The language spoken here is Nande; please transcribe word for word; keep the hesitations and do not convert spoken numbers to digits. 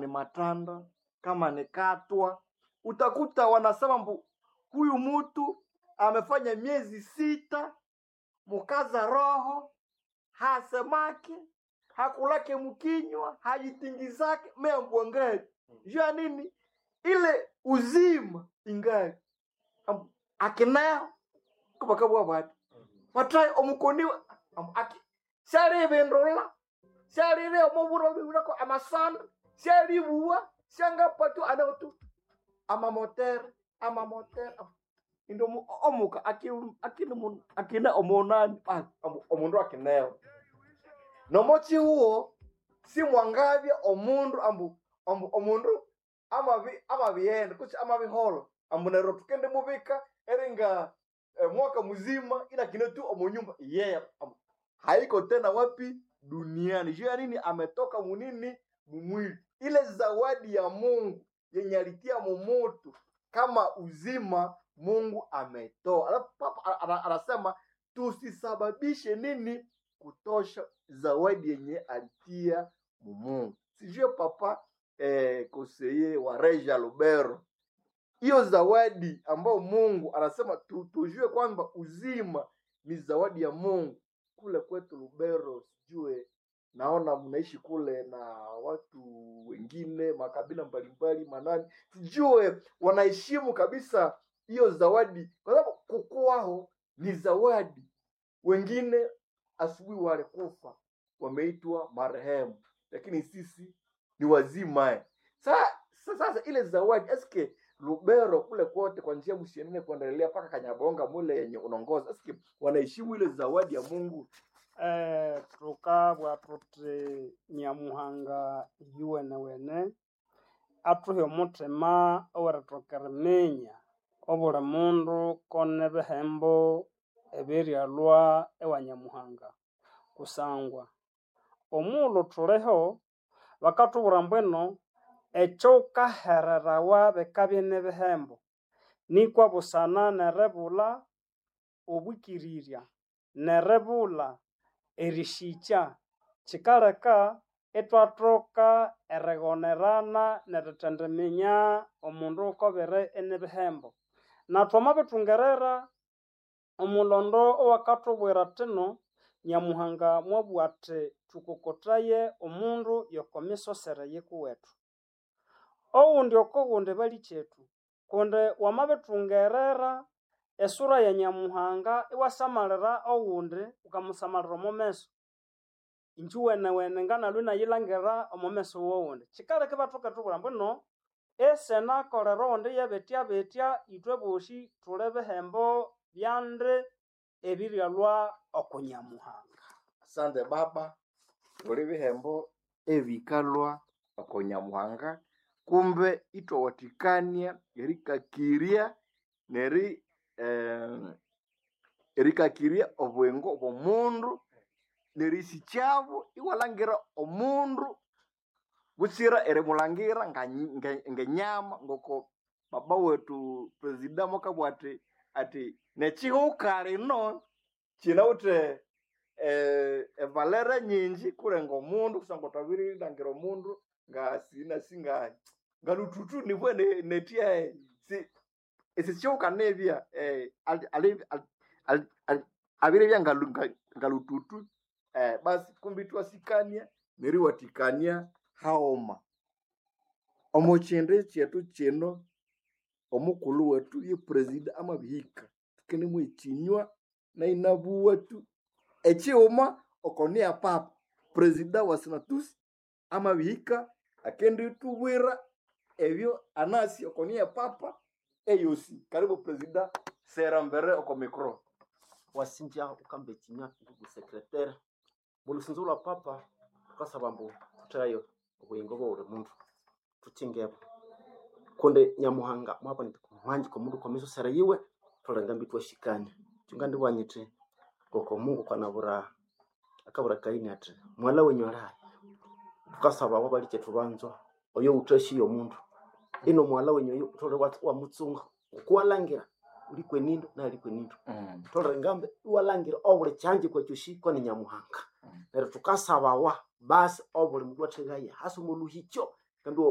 Matanda, kama ni Katwa, utakuta wanasema mbu huyu mutu amefanya miezi sita mukaza roho hasemake hakulake mkinywa hajitingizake meambwangali juu ya nini ile uzima ingali Ambu, akinao kubakabwa bati watrai omukoniwa ambu, aki syalibindula syalire omuburo biwirako amasanda syalibuwa syangapatwa anautu amamotere amamotere indi omu- omuka aki- akine mun- akine omunani ah, omu- omundu akinewo nomochihuo simwangabya omundu ambu ambu omundu amabi amabighenda kutse amabiholo ambu neryo tukende mubika eringa eh, mwaka muzima inakine tu omunyumba yeye ambu haiko tena wapi duniani juu ya nini ametoka munini mumwili ile zawadi ya mungu yenye alitia mumutu kama uzima mungu ametoa alafu papa ana- ana- anasema tusisababishe nini kutosha zawadi yenye alitia mumungu sijue papa eh, koseye wa reja lubero hiyo zawadi ambayo mungu anasema tu, tujue kwamba uzima ni zawadi ya mungu kule kwetu lubero sijue naona mnaishi kule na watu wengine makabila mbalimbali manani sijue wanaheshimu kabisa hiyo zawadi kwa sababu kukuwaho ni zawadi wengine asubuhi walikufa wameitwa marehemu lakini sisi ni wazima eh. Sa, sa, sasa ile zawadi eske lubero kule kote kwa njia msienene kuendelea mpaka kanyabonga mule yenye unaongoza eske wanaheshimu ile zawadi ya mungu Eh, tukabwa tuthi Nyamuhanga yuwenewene athuhe omuthima owerithoka eriminya obuli mundu kone bihembo ebiryalhwa ewa Nyamuhanga kusangwa omughulhu thuliho bakathubwira mbwino ekyowukahererawa bikabya nibihembo nikwa busana neribulha obwikirirya neribulha erisikya kyikaleka ithwathoka erighonerana nerithendiminya omundu wukobere inibihembo. Na thwamabithungerera omulhondo owakathubwira athino Nyamuhanga mwabugha athi thukokothaye omundu yoko misosere yikuwethu. Owundi oko wundi balikyethu kundi wamabithungerera esura ya Nyamuhanga iwasamalira owundi wukamusamalira omo meso injuwenewene nganalwe inayilhangira omo meso wowundi. Kyikaleka ibathoka erithubwira ambu isenakolera owundi yabitya ithwe bosi thuli bihembo byandi ebiryalhwa oku Nyamuhanga. Asante baba uli bihembo ebikalwa oko nyamuhanga kumbe ithwawathikania erikakirya neri eh, erikakirya obwengo bw'omundu nerisikyabo iwalhangira omundu butsira erimulangira nga- nga- ngenyama ngoko baba wetu presida mwakabugha athi athi nekihuka lino kinawithe eh, evalere nyingi kulenga omundu kusangwa thwabirilangira omundu ngasinasi nga ngalututu nibwe ne- netya si esikihuka nibya eh, ali- ali- ali- ali- ali- abiribya ngalu- nga- ngalututu eh, basi kumbi itwasikania neriwathikania haghuma omu kindu kyethu kino omukulhu wethu ye president amabihika thukenemu ekinywa nainabuwa tu ekighuma oko niya papa president wa senatus amabihika akendithubwira ebyo anasi oko niya papa eyosi karibu president sera mbere oko micro wasinja ukamba ekinywa ndugu sekretera mulusinzo lwa papa tukasaba mbu thutheyo obuyingo bwa buli mundu thukyingebo kundi nyamuhanga mwaboneka omwanji komundu kwamisosera yiwe thulenga mbi twashikania kyunga ndibwanyithi ngoko mungu kwanabura akabura kaini athi mwala wenyu alayi tukasaba wabalikye banzwa oyo wuthashiye omundu ino mwala wenyu oyo thole wa- wamutsunga ngokuwalangira uli kwenindu naye ali kwenindu mm. tholere ngambe iwalangira obuli kyanji kwekyoshi koni nyamuhanga neryo thukasabawa basi obuli mundu atheghaye hasi omo luhikyo ngambi